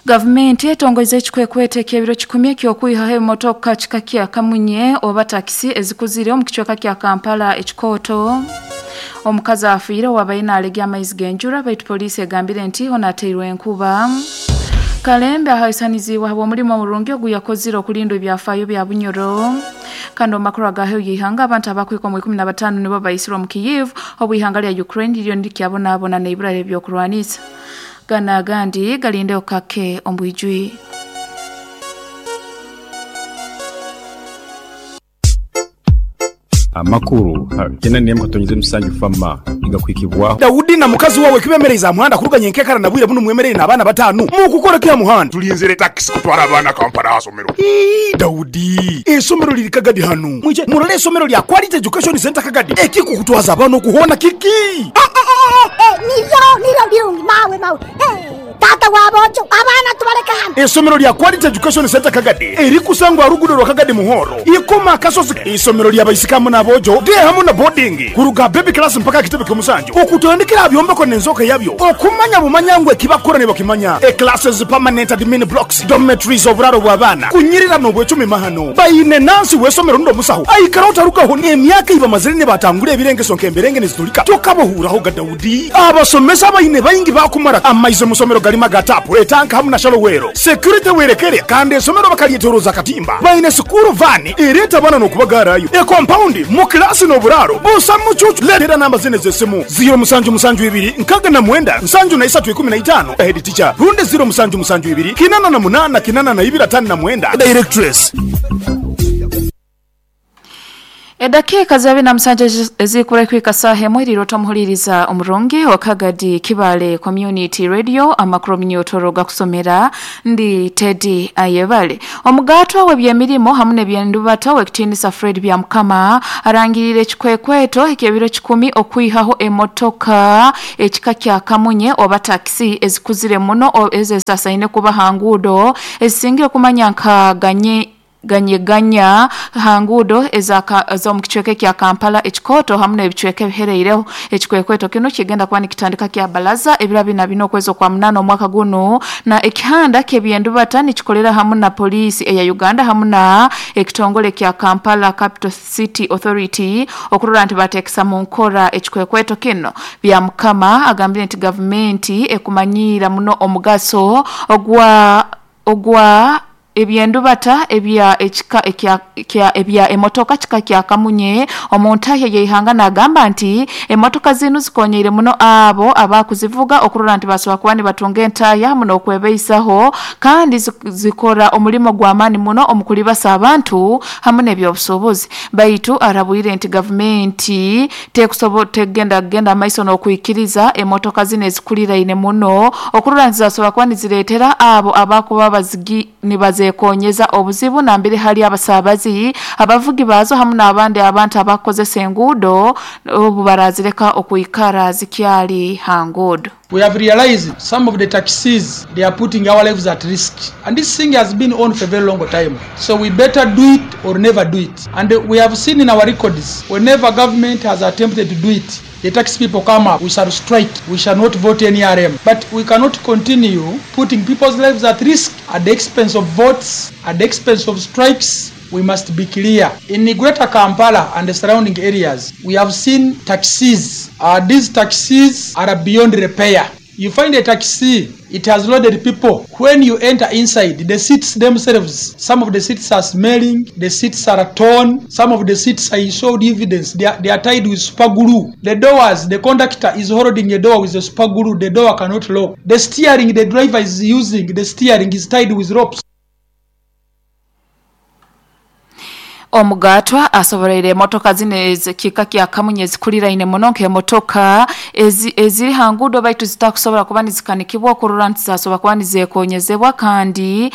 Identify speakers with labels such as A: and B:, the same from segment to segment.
A: Gavumenti etongoize ekikwekweto eky'ebiro kikumi eky'okwihaho ebimotoka kika kya kamunye oba takisi ezikuzire omu kicweka kya Kampala ekikooto. Omukazi afiire owabaire nalegya amaizi g'enjura baitu poliisi egambire nti ono ateirwe enkuba. Kalembe ahaisaniziibwe habw'omulimo omurungi oguyakozire okulinda ebyafaayo bya Bunyoro. Kandi omu makuru aga heru y'eihanga abantu abakuhika omu 15 nibo baisirwe omu Kyiv obu eihanga lya Ukraine liriyo nirikyabonabona n'eibura ly'ebyokurwanisa. Gano agandi galindeho kake omu bwijwire.
B: Amakuru ha kenda n'emu katonyeza emisanju FAMA nigakuhikibwaho.
C: Daudi na mukazi wawe kibemereize aha muhanda kuruga nyenkekara na bwire bunu mwemereire n'abaana batanu. Mukukora ki aha muhanda?
D: Tulinzire takisi kutwara abaana Kampala aha somero.
C: Ii, Daudi, eisomero liri Kagadi hanu. Mwije murole eisomero lya Quality Education Centre Kagadi. Ekikukutwaza abaana oku hoona kiki?
E: Niryo, niryo birungi mawe, mawe. Taata wa boojo, abaana tubaleke hano.
C: Eisomero lya Quality Education Centre Kagadi erikusangwa aha luguudo rwa Kagadi Muhoro, Ikoma Akasozi. Eisomero lya baisiki hamu n'aboojo, day hamu na boarding, kuruga aha baby class mpaka aha kitebe ky'omusanju, okutandikira aha byombeko n'enzooka yabyo, okumanya bumanya ngu ekibakukora nibakimanya. E Classes, permanent admin blocks, dormitories, oburaaro bw'abaana, kunyirira n'obwecumi mahano. Baine nansi w'eisomero rundi omusaho aikaraho tarugaho n'emyaka ei bamazire nibatangura ebirengeso nk'emberenge nizitulika tokabahuuraho ga Daudi. Abasomesa abaine baingi baakumara amaizi omu somero garimu aga taapu, etanka hamu na shallow well. Security werekere kandi esomero bakaryetoroza akatimba. Baine sikuuru vaani ereeta abaana n'okubagaarayo. Ekompaundi mu kilaasi n'oburaaro busa mucuucu. Leetera namba zinu ez'esimu, ziiro musanju musanju ibiri nkaaga na mwenda nsanju na isatu ikumi na itaano, Head teacher, rundi ziiro musanju musanju ibiri kinana na munaana kinana na ibiri ataano na mwenda, Directress.
A: Edakiika za bina musanju ezirikubura kuhika saaha emwe eriire otamuhuririza omurungi wa Kagadi Kibale Community Radio amakuru omunyotoro gakusomera ndi Teddy Ayebare. Omugaatwa w'ebyemirimo hamu n'ebyendubata ow'ekitiinisa Fred Byamukama arangiriire ekikwekweto eky'ebiro kikumi okwihaho emotoka ekika kya kamunye oba takisi ezikuzire muno ezo ezitasaine kuba ha nguudo ezisingire kumanya nka ganye Ganyeganya ha nguudo ez'omu kicweka ekya Kampala ekikooto hamu n'ebicweka ebihereireho. Ekikwekweto kinu kigenda kuba nikitandika kya Balaza ebiro abiri na bina okwezi okwa munaana omwaka gunu na ekihanda ky'ebyendubata nikikolera hamu na Poliisi eya Uganda hamu na ekitongole kya Kampala Capital City Authority okurora nti bateekesa mu nkora ekikwekweto kinu. Byamukama agambire nti gavumenti ekumanyiira muno omugaso ogwa ogwa Eby'endubata ebya ekika ekya kya ebya emotoka kika kya kamunye omu ntahya y'eihanga n'agamba nti emotoka zinu zikonyeire muno abo abakuzivuga okurora nti basobora kuba nibatunga entahya hamu n'okwebeisaho kandi zikora omulimo gw'amaani muno omu kulibasa abantu hamu n'ebyobusuubuzi baitu arabwire nti gavumenti Tekusobo tekugenda kugenda maiso n'okwikiriza emotoka zinu ezikuliraine muno okurora nti zasobora kuba nizireetera abo abakuba bazigi nibazekonyeza obuzibu nambere hali abasaabazi, abavugi baazo hamu n'abandi abantu abakukozesa enguudo obu barazireka okwikara zikyali ha nguudo.
F: We have realized some of the taxis they are putting our lives at risk and this thing has been on for a very long time so we better do it or never do it and we have seen in our records whenever government has attempted to do it the taxi people come up we shall strike we shall not vote nrm but we cannot continue putting people's lives at risk at the expense of votes at the expense of strikes we must be clear in greater Kampala and the surrounding areas we have seen taxis uh, these taxis are beyond repair you find a taxi it has loaded people when you enter inside the seats themselves some of the seats are smelling the seats are torn some of the seats I showed evidence they are, they are tied with super glue the doors the conductor is holding a door with a super glue the door cannot lock the steering the driver is using the steering is tied with ropes.
A: Omugaatwa asoboreire emotoka zinu ez'ekika kya kamunye ezikuriraine muno nk'emotoka eziri ha nguudo baitu zitakusobora kuba nizikanikibwa okurora nti zasobora kuba nizekonyezebwa kandi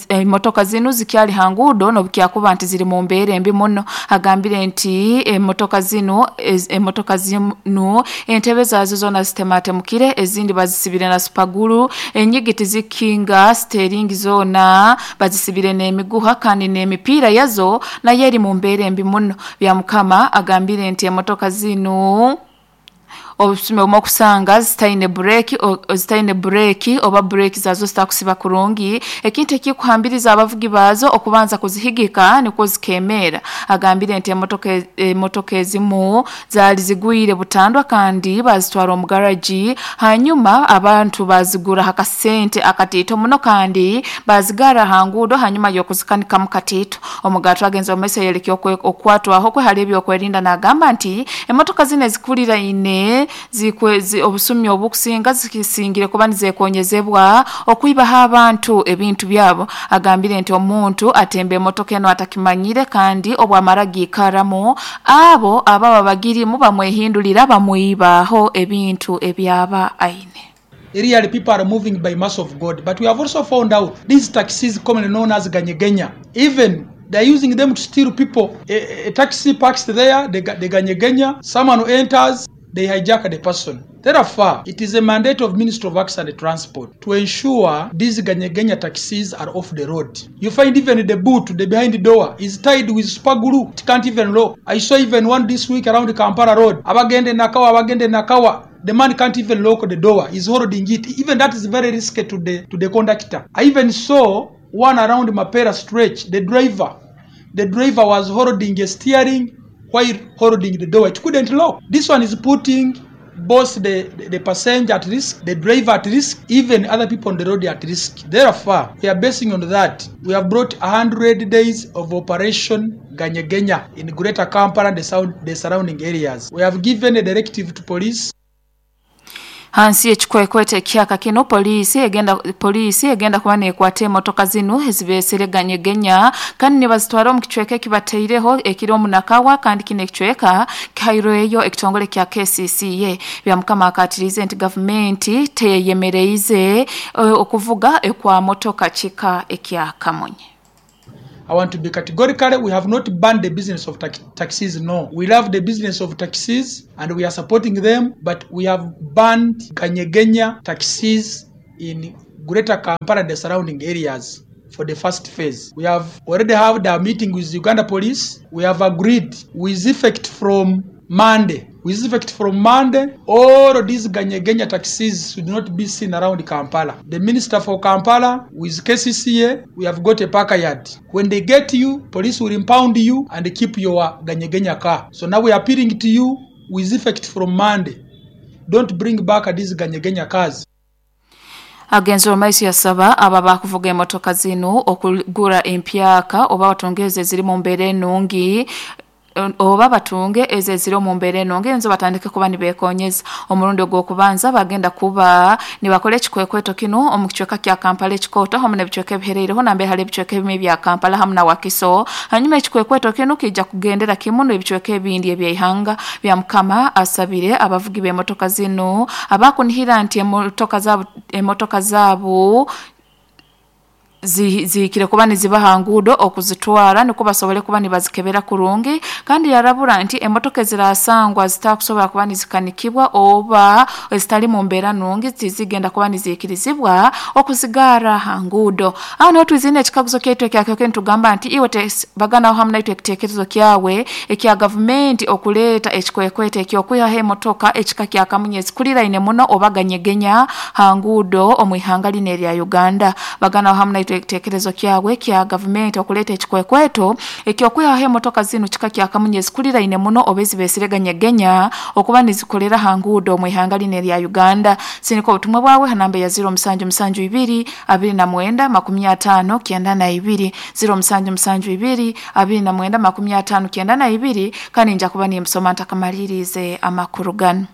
A: emotoka zinu zikyali ha nguudo n'obukyakuba nti ziri mu mbeera embi muno. Agambire nti emotoka zinu emotoka zinu entebe zaazo zoona zitematemukire ezindi bazisibire na supaguru, enyigi tizikinga, siteeringi zoona bazisibire n'emiguha kandi n'emipiira yazo nayo eri mu mbeera embi muno. Byamukama agambire nti emotoka zinu. Obusumi obumu okusanga zitaine bureki zitaine bureki oba bureki zaazo zitakusiba kurungi, ekintu ekikuhambiriza abavugi baazo okubanza kuzihigika nikwo zikemeera. Agambire nti emotoka ezimu zaali zigwire butandwa kandi bazitwara omu garagi hanyuma abantu bazigura ha kasente akatiito muno kandi bazigara ha nguudo hanyuma y'okuzikanikamu katiito. Omugato agenze omu maiso yayoleka okukwatwaho kwe hali ebyokwerinda nagamba nti emotoka zinu ezikuriraine obusumi obukusinga zisingire kuba nizekonyezebwa okwibaho abantu ebintu byabo. Agambire nti omuntu atemba emotoka enu atakimanyire kandi obwamara giikaramu abo ababa bagirimu bamwehindulira bamwibaho ebintu ebyaba aine.
F: Really, people are moving by mercy of God. But we have also found out these taxis, commonly known as Ganyegenya, even they are using them to steal people. A taxi parks there, the Ganyegenya, someone enters, they hijack the person. Therefore, it is a mandate of Ministry of Works and Transport to ensure these Ganyegenya taxis are off the road. You find even the boot, the behind the door, is tied with super glue. It can't even lock. I saw even one this week around the Kampala Road. Abagende Nakawa, Abagende Nakawa. The man can't even lock the door. He's holding it. Even that is very risky to the conductor. I even saw one around Mapera stretch. The driver was holding a steering while holding the door. It couldn't lock. This one is putting both the passenger at risk, the driver at risk, even other people on the road at risk. Therefore, we are basing on that. We have brought 100 days of Operation Ganyegenya in Greater Kampala and the surrounding areas. We have given a directive to police.
A: Hansi ekikwekwete ekyaka kino poliisi egenda kuba nekwata emotoka zinu ezibesere Ganyegenya kandi nibazitwara omu kicweka ekibateireho ekiri omu Nakawa kandi kino ekicweka kihaireyo ekitongole kya KCCA. Byamukama akatirize nti gavumenti teyemereize okuvuga ekwa motoka kika ekya Kamunye.
F: I want to be categorical. We have not banned the business of taxis, no. We love the business of taxis and we are supporting them, but we have banned Ganyegenya taxis in Greater Kampala and the surrounding areas for the first phase. We have already had a meeting with Uganda Police. We have agreed with effect from Monday. With effect from Monday, all these Ganyegenya taxis should not be seen around Kampala. The Minister for Kampala, with KCCA, we have got a park yard. When they get you, police will impound you and keep your Ganyegenya car. So now we are appealing to you with effect from Monday. Don't bring back these Ganyegenya cars.
A: Agenzi omaiso yasaba aba bakuvuga emotoka zinu okugura empyaka oba batongeze ziri mu mbeera ennungi oba batunge ezo eziri omu mbeera ennungi enzo batandike kuba nibekonyeza. Omurundi ogw'okubanza bagenda kuba nibakola ekikwekweto kino omu kicweka kya Kampala ekikooto hamu n'ebicweka ebihereireho nambere hali ebicweka ebimu ebya Kampala hamu na Wakiso. Hanyuma ekikwekweto kino kijja kugendera kimu n'ebicweka ebindi ebyeihanga. Byamukama asabire abavugi b'emotoka zinu abakunihira nti emotoka zaabo zihikire kuba nizibaha nguudo okuzitwara niko basobole kuba nibazikebera kurungi kandi yarabura nti emotoka ezirasangwa zitakusobola kuba nizikanikibwa oba ezitali mu mbeera nungi zizigenda kuba niziikirizibwa okuzigara ha nguudo. Aho niho twizine ekikaguzo kyaitu ekyakyoke nitugamba nti iwe baganaho hamu naitwe ekiteekerezo kyawe ekya gavumenti okuleeta ekikwekwete ekyokwihaho emotoka ekika kya Kamunye ezikuriraine muno oba Ganyegenya ha nguudo omu ihanga lino erya Uganda. Baganaho hamu naitwe ekiteekerezo kyawe kya gavumenti okuleeta ekikwekweto ekyokwihaho emotoka zinu kika kya Kamunye ezikuriraine muno oba ezibesire Ganyegenya okuba nizikolera ha nguudo omu ihanga lino erya Uganda. Sinika obutumwa bwawe ha namba ya 0772 29 50 92 0772 29 50 92 kandi nja kuba nimusoma ntakamalirize amakuru gano.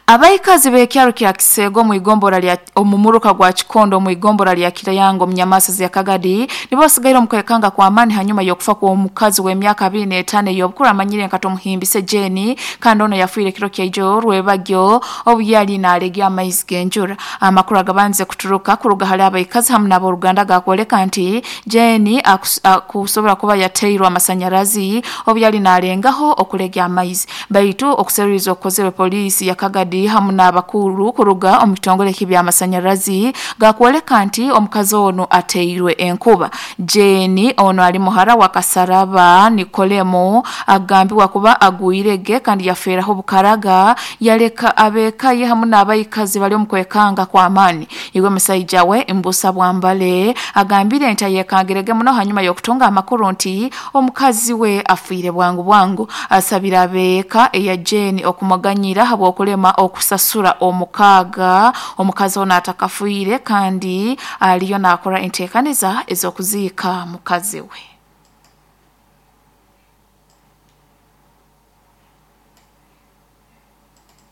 A: Abaikazi b'ekyaro kya Kisego mu igombora lya omumuruka gwa Kikondo mu igombora lya Kirayango mu Nyamasazi ya Kagadi nibo basigaire omukwekanga kwa amani hanyuma y'okufa kw'omukazi w'emyaka 25 ey'obukuru amanyire nka Tomuhimbise Jeni kandi ono yafiire kiro kyaijo rwebagyo obu yali naalegya amaizi g'enjura. Amakuru agabanze kuturuka kuruga hali abaikazi hamu n'aboruganda gakwoleka nti Jeni akusobora kuba yateirwe amasanyarazi obu yali naalengaho okulegya amaizi, baitu okuseruriza okukozerwe poliisi ya Kagadi hamu n'abakuru kuruga omu kitongole ky'ebyamasanyarazi gakwoleka nti omukazi ono ateirwe enkuba. Jane ono ali muhara wa Kasaraba Nikolemo agambibwa kuba agwirege kandi yafeeraho bukaraga yaleka abeka ye hamu n'abaikazi bali omu kwekanga kwa amani. Iwe musaija we Mbusa Bwambale agambire nti ayekangirege muno hanyuma y'okutunga amakuru nti omukazi we afiire bwangu bwangu. Asabira abeeka eya Jane okumuganyira habw'okulema okusasura omukaaga omukazi ono atakafiire kandi aliyo naakora enteekaniza ez'okuziika mukazi we.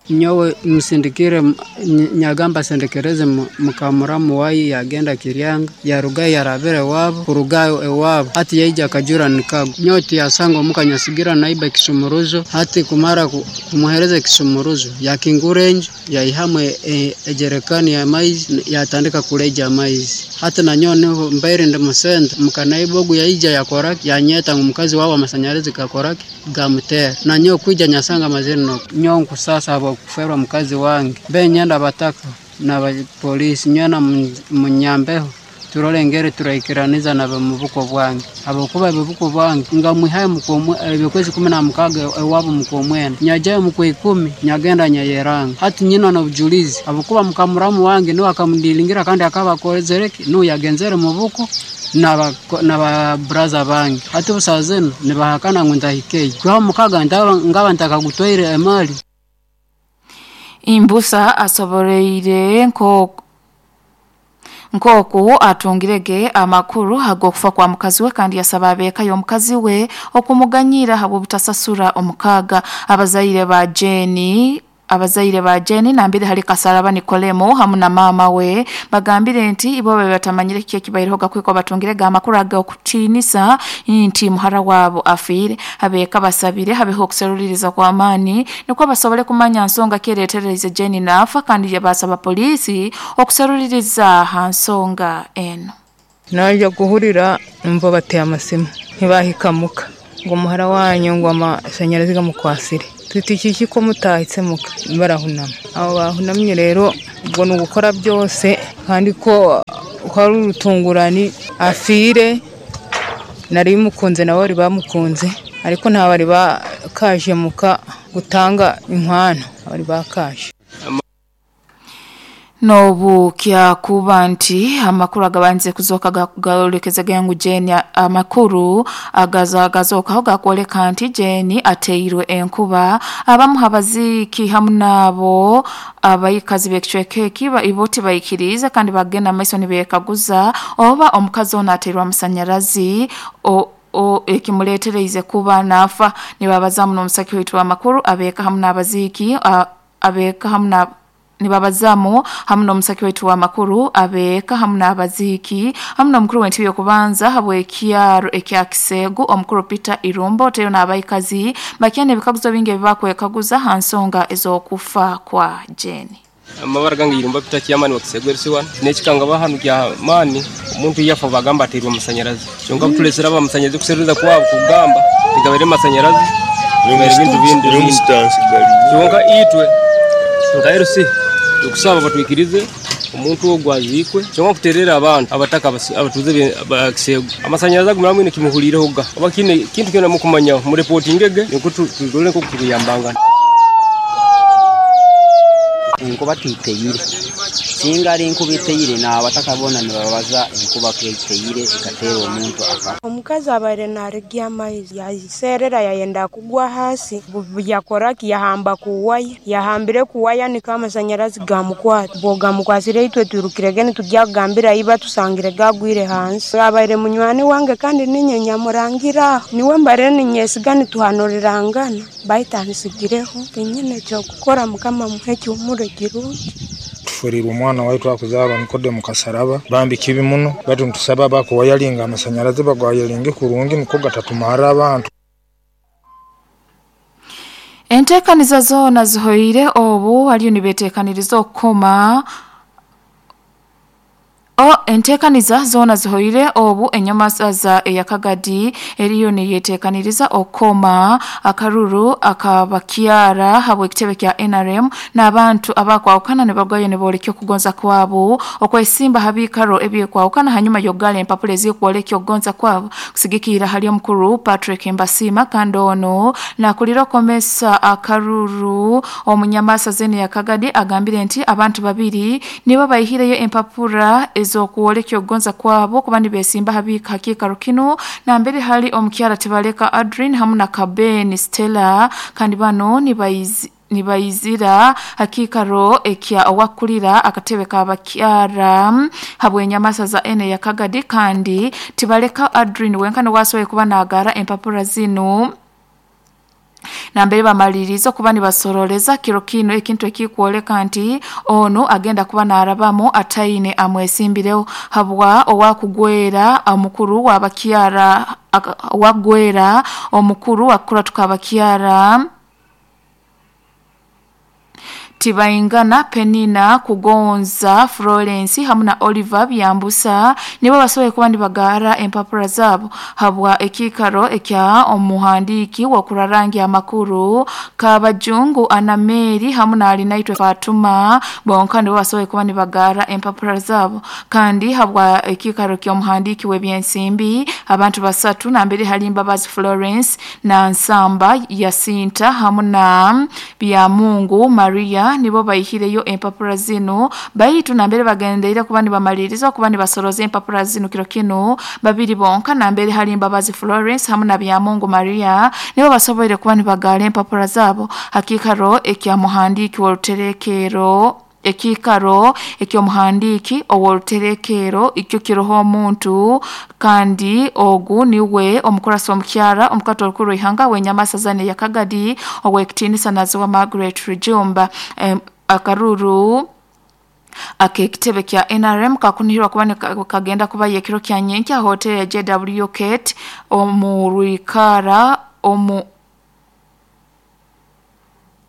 G: Nyowe musindikire nyagamba sendekereze mukamuramu wayi yagenda Kiryanga yaruga yarabire wabo kurugayo ewabo hati yaija akajura nikago nyowe tiyasanga omuka nyasigira naiba ekisumuruzo hati kumara kumuhereza ekisumuruzo yakingura enju yaihamu ejerekani ya maizi yatandika kuleja amaizi hati nanyowe niho mbaire ndi musenta mukanaiba ogu yaija yakoraki yanyeta ngu mukazi wabo amasanyarazi gakoraki gamutera nanyowe kwija nyasanga amazini noko nyowe nkusasa abo kuferwa mukazi wange benyenda bataka na polisi nyana munyambeho turole ngere turaikiraniza na mubuko bwange abakuba bibuko bwange nga mwihaye mukomwe ebykwezi 16 ewabo mukomwena nyajayo mukwe 10 nyagenda nyayeranga hati nyina na bujulizi abakuba mukamuramu wange niwe akamdilingira kandi akaba kozereki nu yagenzere mubuko na braza bange hati busazeno nibahakana ngu ndahikeye kwa mukaga ngaba ntakagutwaire emali.
A: Imbusa asoboreire nkoku atungirege amakuru ag'okufa kwa mukazi we kandi yasaba abeeka y'omukazi we okumuganyira habw'obutasasura omukaga. Abazaire ba Jane nambire hali Kasaraba Nikolemo hamu na mama we bagambire nti ibo batamanyire kiki ekibaireho gakwiko batungirege amakuru ag'okutinisa nti muhara wabo afiire. Abeeka basabire habeho okuseruliriza kwa amani nikwo basobole kumanya nsonga kireetererize Jane naafa kandi yabasaba polisi okuseruliriza ha nsonga eno.
H: Naija kuhurira numva bateye amasimu ntibahikamuka ngo muhara wanyu ngo amashanyarazi gamukwasire tuti kiki ko mutahitse muka barahunama. Abo bahunamye rero ubwo ni ugukora byose kandi ko hari urutungurani afire nari mukunze nabo bari bamukunze ariko nta bari bakaje muka gutanga inkwano bari bakaje.
A: Nobu kyakuba nti amakuru agabanze kuzoka gawolekeza gangu Jane amakuru agazoka gakwoleka nti Jane ateirwe enkuba. Abamu habaziki hamu nabo abayikazi b'ekicweka eki iboti bayikiriza kandi bagenda maiso nibekaguza oba omukazi ono ateirwe amasanyarazi o ekimuleetereize kuba nafa. Nibabazamu n'omusaki waitu w'amakuru abeeka hamu n'abaziki abeeka hamu na nibabazamu hamu n'omusaki wetu wa makuru abeeka hamu n'abaziki hamu n'omukuru w'entebe y'okubanza habw'ekyaro ekya Kisegu omukuru Peter Irumbo teyo n'abaikazi bakyane ebikaguzo bingi ebibakwekaguza ha nsonga ez'okufa kwa Jane.
I: Amabara gange Irumba Peter Chairman wa Kisegu LC1 nekikanga bahanu kya mani omuntu yafa bagamba ateirwe amasanyarazi kyonka butulesera amasanyarazi kuseruza kwabo kugamba tigabere amasanyarazi bintu bindi kyonka itwe nka LC tukusaba batwikirize omuntu ogwo azikwe kyonka kuterera abantu abataka abatuze bakisego amasanyarazi agumira mwine kimuhulireho ga oba kine kintu kyona mukumanya mu reportingege niko tugole nko kuyambangana.
J: Enkuba titeyire singa ari enkuba iteyire n'abatakabona nibabaza enkuba iteyire ikateera omuntu akafa.
K: Omukazi abaire narigya amaizi yaserera yayenda kugwa hasi yakoraki yahamba kuwaya yahambire kuwaya niko amasanyarazi gamukwata bo gamukwasire itwe turukirege nitujya kugambira iba tusangire gagwire hansi. Abaire munywani wange kandi ninye nyamurangira niwe mbare ninyesiga nituhanurirangana baitanisigireho tinyine kyokukora mukama muhe ekihuumuro kirungi.
L: Tufurirwe omwana waitu akuzarwa Nikodemu Kasaraba bambi kibi muno batu ntusaba bakuwayalinga amasanyarazi bagwayalinge kurungi niko gatatumara abantu.
A: Enteekaniza zoona zihoire obu baliyo nibeteekaniriza okukoma Enteekaniza zoona zihoire obu enyamasaza eyakagadi eriyo neyeteekaniriza okukoma akaruru akabakyara habw'ekitebe kya NRM n'abantu abakwawukana nibarugayo niboolekya okugonza kwabo okwesimba ha biikaro ebyekwawukana hanyuma y'okugala empapura ezikwolekya okugonza kwabo kusigikirra hali omukuru Patrick Mbasiima. Kandi ono nakulira okomesa akaruru omunyamasaza enu eyakagadi agambire nti abantu babiri nibo baihireyo empapura ez'okwolekya okugonza kwabo kuba nibeesimba ha kiikaro kinu nambere hali omukyara Tibaleka Adrin hamu na Kabeni Stella. Kandi bano nibaizira ha kiikaro ekya owakulira akatebe k'abakyara habw'enyamasaza enu eyakagadi. Kandi Tibaleka Adrin wenka niwe asoboire kuba naagara empapura zinu nambere bamaliriza okuba nibasoroleza kiro kinu, ekintu ekikwoleka nti ono agenda kuba naarabamu ataine amwesimbireho habwa owakugwera omukuru w'abakyara, owakugwera omukuru wakukuratu k'abakyara Tibaingana Penina Kugonza Florence hamu na Oliver Byambusa nibo basoboire kuba nibagara empapura zaabo habwa ekiikaro ekya omuhandiiki w'okurarangi amakuru Kabajungu Anameri hamu na Alinaitwe Fatuma bonka nibo basoboire kuba nibagara empapura zaabo. Kandi habwa ekiikaro ky'omuhandiiki w'ebyensimbi abantu basatu nambere hali Mbabazi Florence na Nsamba Yasinta hamu na Byamungu Maria nibo baihireyo empapura zinu. Baitu nambere bagendeire kuba nibamaliriza kuba nibasoroza empapura zinu kiro kinu, babiri bonka nambere hali Mbabazi Florence hamu na Byamungu Maria nibo basoboire kuba nibagara empapura zaabo hakiikaro ekya muhandiiki w'oruterekero, ekiikaro eky'omuhandiiki ow'oruterekero ikyo kiroho omuntu. Kandi ogu niwe omukurasi omukyara omukato orukuru rw'ihanga w'enyamasaza eyakagadi ow'ekitiinisa Naziwa Margaret Rujumba. Akaruru ak'ekitebe kya NRM kakunihirwa kuba kagenda kubayo ekiro kya nyenkya hoteri ya JW Kate omu rwikara omu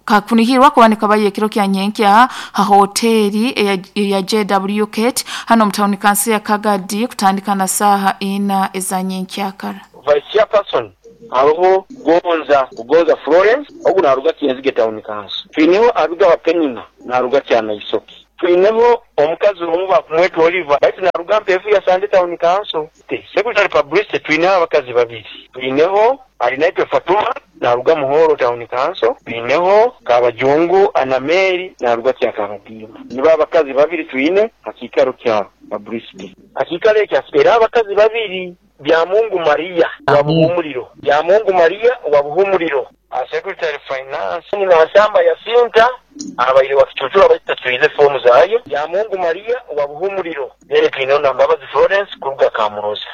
A: kakunihirwa kuba nikabayo ekiro kya nyenkya ha hoteri eya JW Kate hano omu tawuni kansi ya Kagadi kutandika na saaha ina eza nyenkyakara.
M: Vice Chairperson haroho Gonza Kugonza Florence, ogu naaruga Kyenzige Town Council. Twineho Abigaba Penina naaruga Kyanaisoki. Twineho omukazi omu bakumweta Oliver baitu naaruga Mpeefu ya Sande Town Council. Secretary Publicity twineho abakazi babiri. Twineho Alinaitwe Fatuma naaruga Muhoro Town Council. Twineho Kabajungu Anameri naaruga Kyakabadiima. Nibo abakazi babiri twine ha kiikaro kya Publicity. Ha kiikaro ekyo era abakazi babiri. Byamungu Maria wa Buhumuriro. Byamungu Maria wa Buhumuriro. Secretary Finance Nansamba Yasinta abaire wa Kicucura baitu tatwize fomu zayo. Byamungu Maria wa Buhumuriro. Then twineho na Mbabazi Florence kuruga Kamuroza.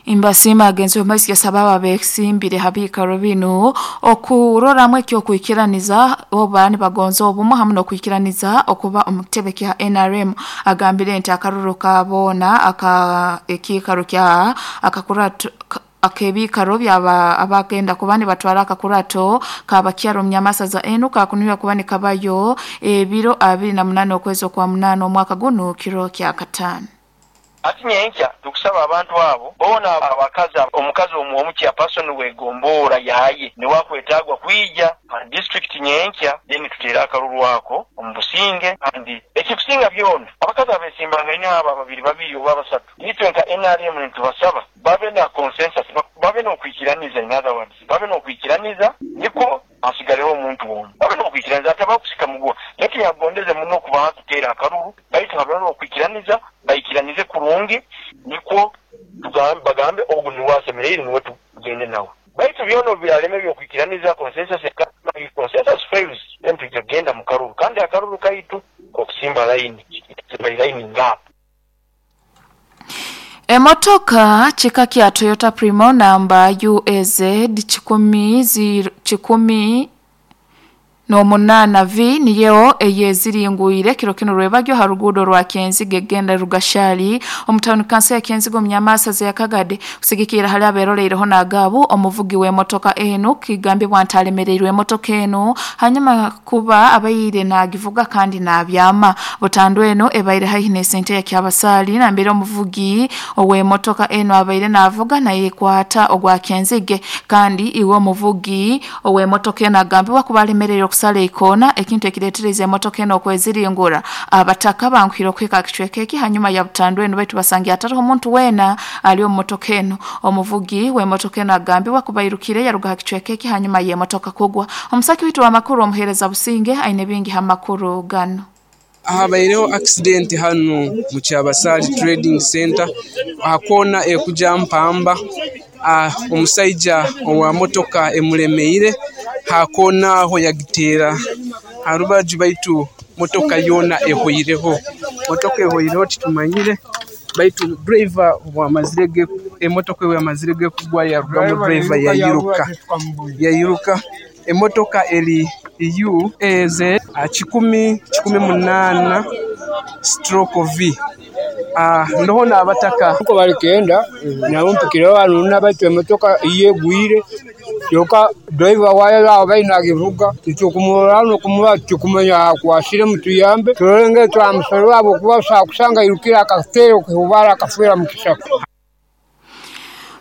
A: Mbasiima agenzi omu yasaba abo abeesimbire ha biikaro binu okuroramu ekyokwikiraniza oba nibagonza obumu hamu n'okwikiraniza okuba omu kitebe kya NRM. Agambire nti akaruru ka boona aka ekiikaro kya akakurato ak'ebiikaro byaba abagenda kuba nibatwara akakurato k'abakyara omu nyamasaza enu kakunihirwa kuba nikabayo ebiro 28 okwezi okwa 8 omwaka gunu kiro kya kataano.
M: Ati nyenkya tukusaba abantu abo boona abakazi, omukazi omu chairperson w'egomboora yaye niwe akwetagwa kwija ha district nyenkya, then tuteere akaruru ako omu businge. Kandi ekikusinga byona abakazi abesimbangaine abo ababiri babiri oba basatu, itwe nka NRM nitubasaba babe na consensus, babe n'okwikiraniza, in other words babe n'okwikiraniza niko hasigaleho omuntu omu, babe n'okwikiraniza atabakusika muguwa. Naye yagondeze muno kubaha kuteera akaruru, baitu habe n'okwikiraniza, baikiranize kurungi nikwo bagambe ogu niwe asemereire niwe tugende nawe. Baitu byona obyalema ebyokwikiraniza consensus, consensus fails, then tujja kugenda mu karuru. Kandi akaruru kaitu okusimba line, simba line ngap.
A: Emotoka kika kya Toyota Primo namba UAZ N'omunaana V niyo eyeziringwire kiro kinu rwebagyo ha ruguudo rwa Kyenzige egenda Rugashali omu tawuni kanso ya Kyenzige omu Nyamasaza ya Kagadi. Kusigikirra hali aberoleireho n'agabu, omuvugi w'emotoka enu kigambibwa nti alemereirwe emotoka enu hanyuma kuba abaire nagivuga kandi nabyama. Butandu enu ebaire haihi n'esente ya Kyabasaali nambere omuvugi ow'emotoka enu abaire navuga nayekwata ogwa Kyenzige, kandi iwe omuvugi ow'emotoka enu agambibwa kuba alemereirwe okusala eikoona, ekintu ekireetereza emotoka enu okweziringura. Abataka banguhire okuhika aha kicweka eki hanyuma ya butandu enu, baitu basangire hatariho omuntu weena ali omu motoka enu. Omuvugi w'emotoka enu agambibwa kuba airukire yaruga ha kicweka eki hanyuma y'emotoka kugwa. Omusaki waitu w'amakuru omuheereza Businge aine bingi ha makuru ganu.
N: Habaireho accident hanu mu Kyabasaali Trading Centre aha koona ekugya Mpamba. Omusaija owa motoka emulemeire ha koona aho yagiteera ha rubaju baitu motoka yoona ehweireho. Motoka ehweireho titumanyire baitu driver emotoka bwemazire ge kugwa yarugamu driver yairuka. Yairuka. Emotoka eri UAZ 118 stroke V. Ndoho n'abataka.
O: Nko balikenda nabo mpikireho hanu baitu emotoka iyo egwire kyonka driver wayo abaire nagivuga titukumurora n'okumurora titukumanya akwasire, mutuyambe turole ngeri twamusorora habwokuba osobora kusanga airukire akateera okihubara akafeera mu kisaka.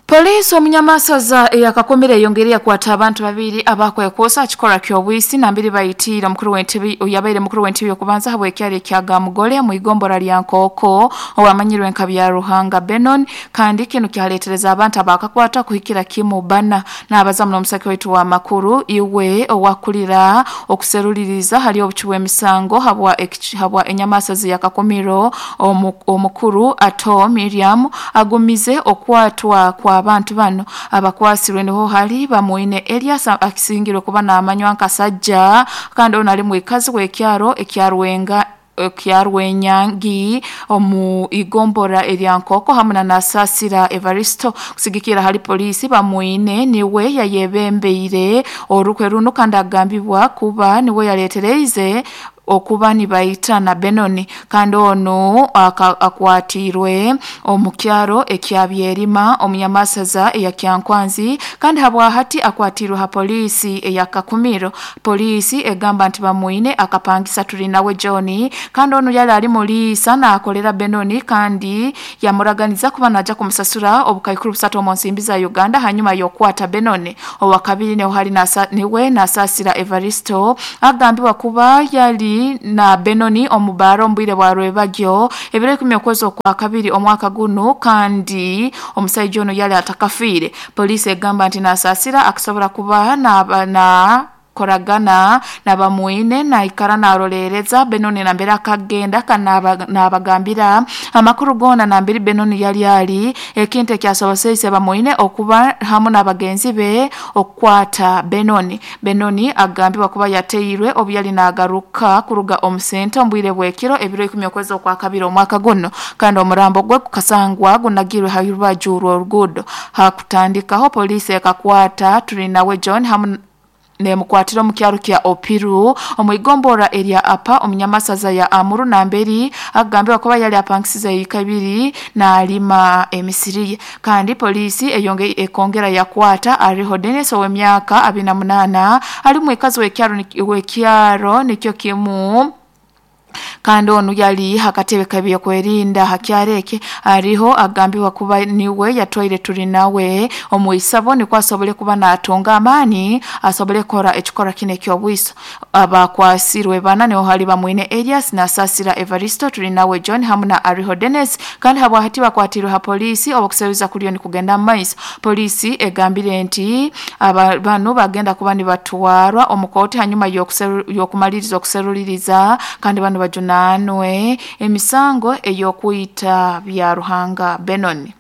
A: Poliisi omunyamasaza eyakakomire eyongeire yakwata abantu babiri abakwekwosa aha kikorwa ky'obwisi nambere baitiire omukuru w'entebe oyabaire mukuru w'entebe y'okubanza habw'ekyaro ekya Gamugore omu igombora lya Nkooko owamanyirwe nka Byaruhanga Benon, kandi kinu kyaleetereza abantu abakakwatwa kuhikira kimu bana. Nabaza muno omusaki waitu w'amakuru iwe owakulira okuseruliriza hali obucwi bw'emisango habwa habwa enyamasaza eyakakomiro omukuru Ato Miriam agumize okwatwa kwa abantu bano. Abakwasirwe niho hali Bamwine Elias akisingirwe kuba namanywa nka Sajja, kandi ono ali mwikazi w'ekyaro ekya Rwenga ekya Rwenyangi omu igombora erya Nkooko hamu na Nasasira Evaristo. Kusigikira hali poliisi, Bamwine niwe yayebembeire orukwe runu kandi agambibwa kuba niwe yaleetereize okuba nibaitana Benoni, kandi onu akwatiirwe omu kyaro ekya Byerima omu Nyamasaza eya Kyankwanzi, kandi habwahati akwatiirwe ha poliisi eya Kakumiro. Poliisi egamba nti Bamwine akapangisa Turinawe John, kandi onu yali ali muliisa naakolera Benoni, kandi yamuraganiza kuba naija kumusasura obukaikuru busatu omu nsimbi za Uganda hanyuma y'okukwata Benoni. Owakabiri niho hali niwe Nasasira Evaristo agambibwa kuba yali na Benoni omu baara omu bwire bwa Rwebagyo ebiro ikumi okwezi okwakabiri omwaka gunu, kandi omusaija onu yali atakafiire. Poliisi egamba nti Nasasira akasobora kuba na koragana na Bamwine naikara narolereza Benoni nambere akagenda kandi nabagambira amakuru goona nambere Benoni yali ali, ekintu ekyasoboseise Bamwine okuba hamu n'abagenzi be okukwata Benoni. Benoni agambibwa kuba yateirwe obu yali nagaruka kuruga omu sente omu bwire bw'ekiro ebiro ikumi okwezi okwakabiri omwaka gunu, kandi omurambo gwe gukasangwa gunagirwe ha rubaju rw'oruguudo. Hakutandikaho poliisi ekakwata Turinawe John hamu nemukwatira omu kyaro kya Opiru omu igombora erya Apa omu Nyamasaza ya Amuru namberi akugambibwa kuba yali apangisize eika ibiri nalima emisiri ye. Kandi poliisi eyonge ekongera yakwata Ariho Dennis ow'emyaka 28 ali mwikazi w'ekyaro nikyo kimu, kandi onu yali hakatebe k'ebyokwerinda ha kyaro eki. Ariho agambibwa kuba niwe yatwaire Turinawe omu isabo nikwo asobole kuba natunga amaani asobole kukora ekikorwa kinu eky'obwiso. Abakwasirwe bana niho hali Bamwine Elias, Nasasira Evaristo, Turinawe John hamu na Ariho Dennis, kandi habwahati bakwatirwe ha poliisi obukuseruza kuriyo nikugenda mu maiso. Poliisi egambire nti aba banu bagenda kuba nibatwarwa omu kooti hanyuma y'okumaliriza okuseruliriza, kandi banu bajunanwe emisango ey'okwita Byaruhanga Benoni.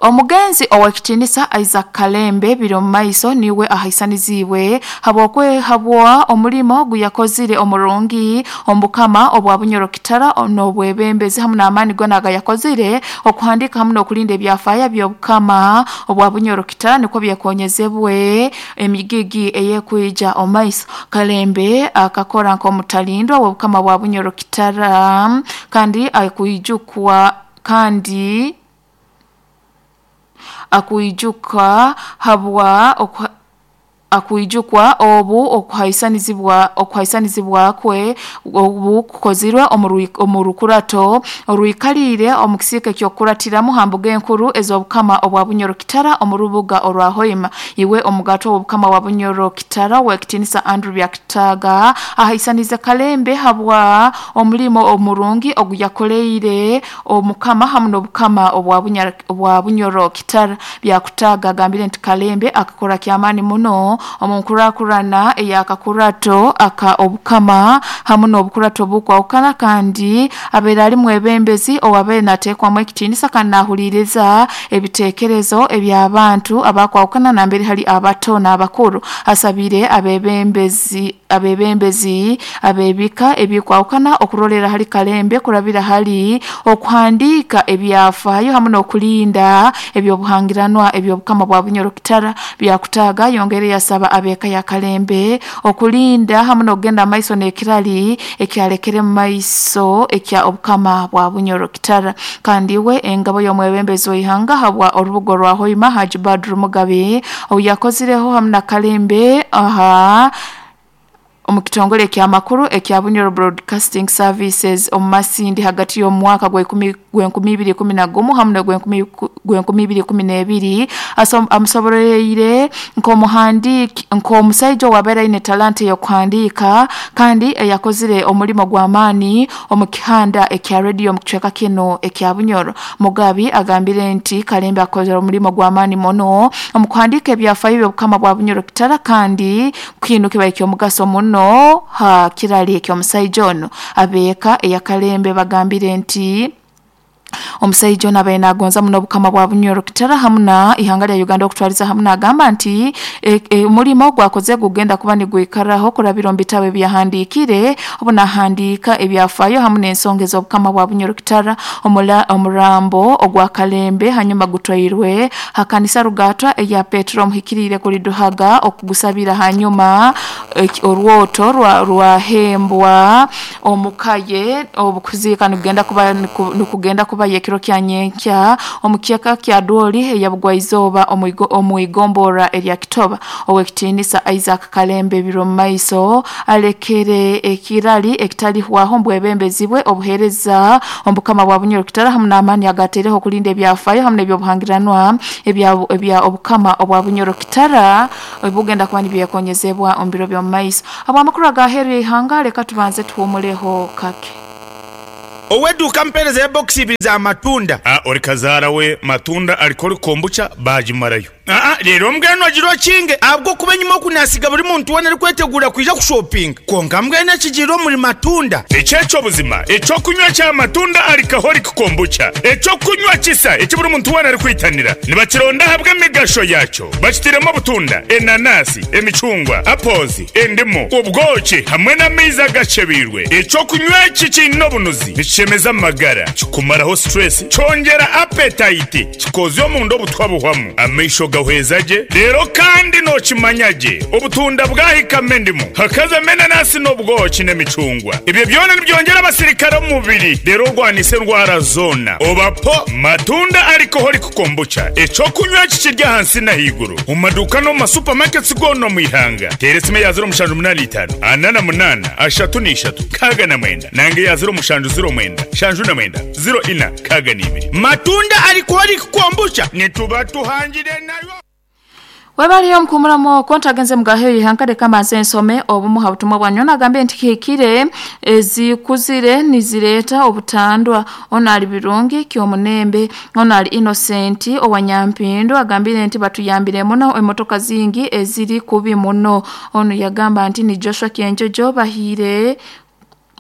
A: Omugenzi owekitinisa Isaac Kalembe biri omu maiso niwe ahaisanizibwe habwokwehabwa omulimo guyakozire omurungi omubukama obwa Bunyoro Kitara n'obwebembezi hamu n'amaani gona agayakozire okuhandika hamu n'okulinda ebyafaayo by'obukama obwa Bunyoro Kitara nikwo byekonyezebwe emigigi eyekwija omu maiso. Kalembe akakora nk'omutalindwa w'obukama bwa Bunyoro Kitara kandi akwijukwa kandi akwijuka habwa akwijukwa obu okuhaisanizibwa kwe obu kukozirwe omu rukurato orwikalire omu kisiika ky'okukuratiramu ha mbuga enkuru ez'obukama obwa Bunyoro Kitara omu rubuga orwa Hoima. Iwe omugato w'obukama bwa Bunyoro Kitara owekitinisa Andrew Byakitaaga ahaisanize Kalembe habwa omulimo omurungi oguyakoleire omukama hamu n'obukama obwa Bunyoro Kitara. Byakutaaga agambire nti Kalembe akakora kyamaani muno omu nkurakurana ey'akakurato aka obukama hamu n'obukurato obukwahukana kandi abeire ali mwebembezi owabeire nateekwamu ekitiinisa kandi nahuliiriza ebiteekerezo eby'abantu abakwahukana nambere hali abato n'abakuru. Asabire abebembezi ab'ebika ebikwahukana okurolera hali Kalembe kurabira hali okuhandiika ebyafaayo hamu n'okulinda ebyobuhangiranwa eby'obukama bwa Bunyoro Kitara. Byakutaaga yongere yasaba ab'eka ya Kalembe okulinda hamu n'okugenda maiso n'ekirali ekyalekere mu maiso ekya obukama bwa Bunyoro Kitara. Kandi we engabo y'omwebembezi w'ihanga habwa orubuga orwa Hoima Haji Badru Mugabe obu yakozireho hamu na Kalembe aha omu kitongole ekyamakuru ekya Bunyoro Broadcasting Services omu Masindi hagati y'omwaka gw'enkumi ibiri ikumi na gumu hamu n'ogw'enkumi ibiri ikumi n'ebiri amusoboleire nk'omuhandiiki nk'omusaija owabaire aine talanta ey'okuhandiika kandi eyakozire omulimo gw'amaani omu kihanda ekya rediyo omu kicweka kinu ekya Bunyoro. Mugabi agambire nti Kalembe akozire omulimo gw'amaani muno omu kuhandiika ebyafaayo by'obukama bwa Bunyoro Kitara kandi kinu kibaire ky'omugaso muno ha kirali eky'omusaija ono. Abeeka eya Kalembe bagambire nti omusaija ono abaire nagonza muno obukama bwa Bunyoro Kitara hamu na ihanga lya Uganda okutwaliza hamu nagamba nti omulimo gwakoze gugenda kuba nigwikaraho kurabira omu bitabo ebyahandiikire obu nahandiika ebyafaayo hamu n'ensonga ez'obukama bwa Bunyoro Kitara. Omurambo ogwa Kalembe hanyuma gutwairwe ha kanisa Rugatwa eya Petero Omuhikiriire Kuliduhaga okugusabira hanyuma orwoto rwahembwa omukaye obukuziika nikugenda kuba ekiro kya nyenkya omu kyeka kya Dwoli eyabugwaizooba omu igombora erya Kitoba. Owekitinisa Isaac Kalembe biro mu maiso alekere ekirali ekitalihwaho mbwebembezi bwe obuheereza omu bukama bwa Bunyoro Kitara hamu n'amaani agateereho okulinda ebyafaayo hamu n'ebyobuhangiranwa ebya obukama obwa Bunyoro Kitara ebugenda kuba nibyekonyezebwa omu biro by'omu maiso. Habw'amakuru agaheeru y'ihanga leka tubanze tuhuumuleho kake.
P: Ow'edduuka mpeereza ya bokisi ibiri za matunda.
Q: A Ori kazaara we matunda alcoholic kombucha baagimarayo.
P: Aa Reero mbwenu ogira okinge ahabw'okuba enyima oku naasiga buri muntu weena arikwetegura kwija kushopinga. Kwonka mbwenu ekigiire omuri matunda.
Q: Eki eky'obuzima eky'okunywa kya matunda alcoholic kombucha. Eky'okunywa kisa eki buri muntu weena arikwitanira. Nibakironda ahabw'emigasho yaakyo. Bakitairemu obutunda, enanasi, emicungwa, apples, endimu, obwoki hamwe n'amaizi agakyebeirwe. Eky'okunywa eki kiine obunuzi, nikishemeza amagara, kikumaraho stress, kyongyera appetite, kikozya omunda obutwa buhwamu, amaisho gahweza gye, reero kandi nookimanya gye obutunda bwahikamu endimu, hakazamu enanasi n'obwoki n'emicungwa. Ebyo byona nibyongyera abasirikare omu mubiri reero orwanise endwara zoona. Oba po Matunda Alcoholic Kombucha, eky'okunywa eki kiri ahansi n'ahaiguru omu maduuka n'omu ma supermarkets goona omu ihanga. Teera esimu eya 0785 48 33 69 nanga eya 0709 79 04 62.
P: Matunda Alcoholic Kombucha nituba tuhangire nayo.
A: Webaliyo omukuumuramu okwo ntagenze mugaheyo ihanga leka mbanze nsome obumu ha butumwa bwanyu. Nagambye nti kihikire ezikuzire nizireeta obutandwa. Ono ali Birungi Kyomunembe. Ono ali Innocent owa Nyampindu agambire nti batuyambire muno emotoka zingi eziri kubi muno. Ono yagamba nti ni Joshua Kyenjojo bahiire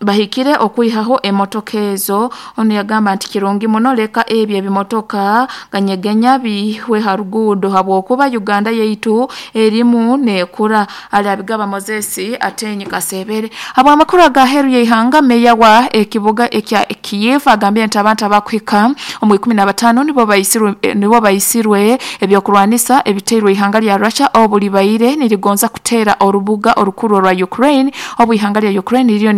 A: Bahikire okwihaho emotoka ezo. Onu yagamba nti kirungi muno, leka ebyo ebimotoka ganyegenya bihwe ha ruguudo habwokuba Uganda yaitu erimu neekura. Ali abigaba Moses Atenyi Kasebere. Habw'amakuru agaheeru y'ihanga, meeya wa ekibuga ekya Kiev agambire nti abantu abakuhika omu 15 nibo baisirwe nibo baisirwe ebyokurwanisa ebiteirwe ihanga lya Russia obu libaire nirigonza kuteera orubuga orukuru orwa Ukraine obu ihanga lya Ukraine liriyo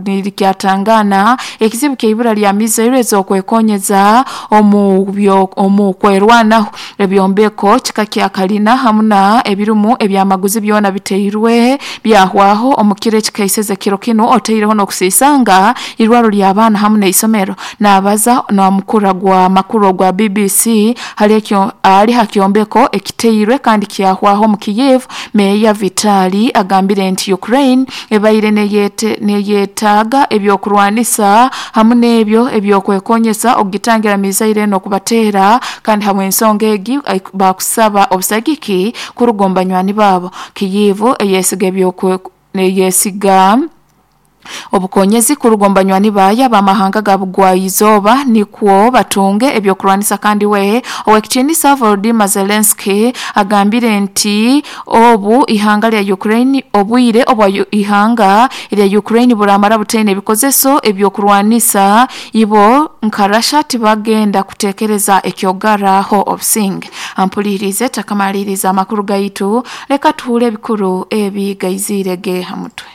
A: nirikyatangaana ekizibu ky'eibura lya mizairo ez'okwekonyeza omu omu kwerwanaho. Ebyombeko kika kya kalina hamu na ebirumu ebyamaguzi byona biteirwe byahwaho omu kiro ekikaiseze kiro kinu, otaireho n'okusiisanga irwaro ly'abaana hamu n'eisomero. Naabaza n'omukura gwa makuru ogwa BBC hali ekyo ali ha kyombeko ekiteirwe kandi kyahwaho omu Kyiv, Meeya Vitali agambire nti Ukraine ebaire neyetaaga eby'okurwanisa hamu n'ebyo eby'okwekonyesa okugitangira mizairo enu okubateera kandi habw'ensonga egi baakusaba obusagiki kuruga omu banywani baabo. Kyiv eyesiga eyesiga obukonyezi kuruga omu banywani baayo ab'amahanga ga Bugwa-izooba nikwo batunge eby'okurwanisa kandi we Owekitiinisa Volodymyr Zelensky agambire nti obu ihanga lya Ukraine obwire obwa ihanga erya Ukraine buramara butaine ebikozeso eby'okurwanisa ibo nka Russia tibagenda kutekereza eky'okugarraho obusinge. Ampuliriize takamaliriza amakuru gaitu, leka tuhuure ebikuru ebi gaiziire ge ha mutwe.